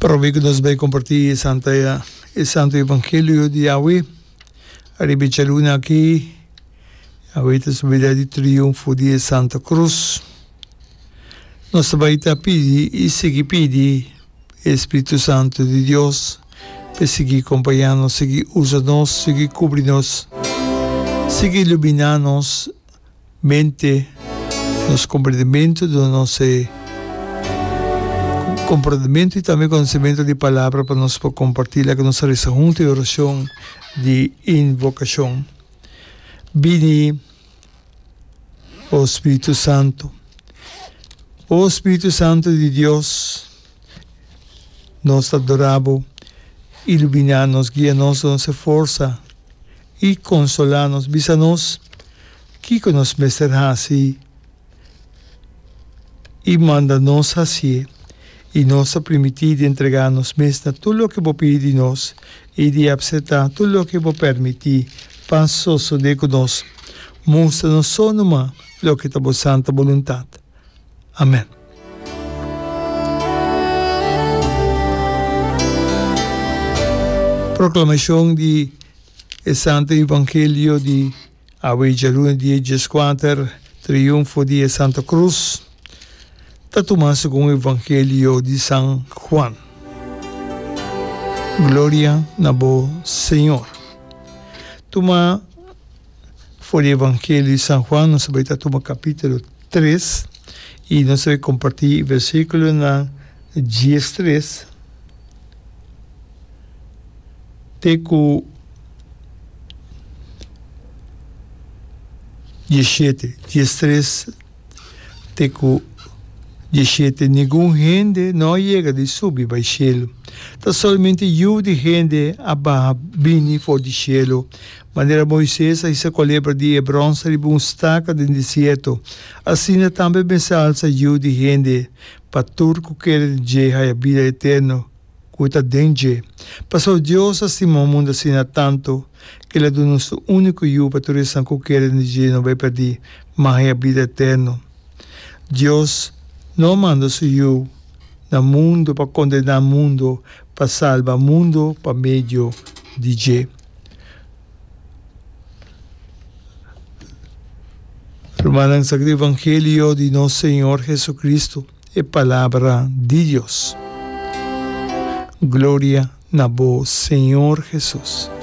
Prome ku nos bai kompartí e santa e santo evangelio di awe ariba e djaluna aki, awe ta subida di triunfo di e Santa Krus. Nos ta bai ta pidi i sigui pidi e Spiritu Santu di Dios pa e sigui kompañá nos, sigui usa nos, sigui kubri nos, sigui iluminá nos mente, nos komprendimentu, duna nos e komprendimentu i tambe konosementu di palabra pa nos por kompartí. Laga nos resa huntu e orashon di invokashon. Bini, o Spiritu Santu. O Spiritu Santu di Dios, nos ta adorá Bo. Iluminá nos, guia nos, duna nos e forsa i konsolá nos. Bisa nos kiko nos mester hasi i manda nos hasié. I nos ta primití di entregá nos mes na tur loke Bo pidi di nos i di apseptá tur loke Bo permití pa sosodé ku nos. Mustra nos so numa loke ta Bo santa boluntat. Amèn. Proklamashon di e Santu Evangelio di Awe djaluna dia dieskuater, Triunfo di e Santa Cruz ta tuma segun Evangelio di San Juan. Gloria na bo Señor. Tuma for di Evangelio di San Juan nos ta bai ta tuma capítulo tres y nos ta bai comparti versículonan diestres te ku Dieshete, diestres te ku dieshete, Ningun hende no a yega di subi bai shelu. Ta solamente Yu di hende a baha bini for di shelu. Manera Moises a hisa kolebra di e bròns riba un staka den desierto, asina tambe mester alsa Yu di hende, pa tur ku kere den dje haya bida eterno. ku ta den dje. Pasobra Dios a stima mundu asina tantu, ku el a duna su úniko Yu pa tur esnan ku kere den dje no bai pèrdí, ma haña bida eterno. Dios no a manda su Yu na mundu pa kondená mundu, pa salba mundu pa medio di dje. Rumannan, Sagrado Evangelio di nos Señor Jesucristo. E palabra di Dios. Gloria na bo Señor Jesus.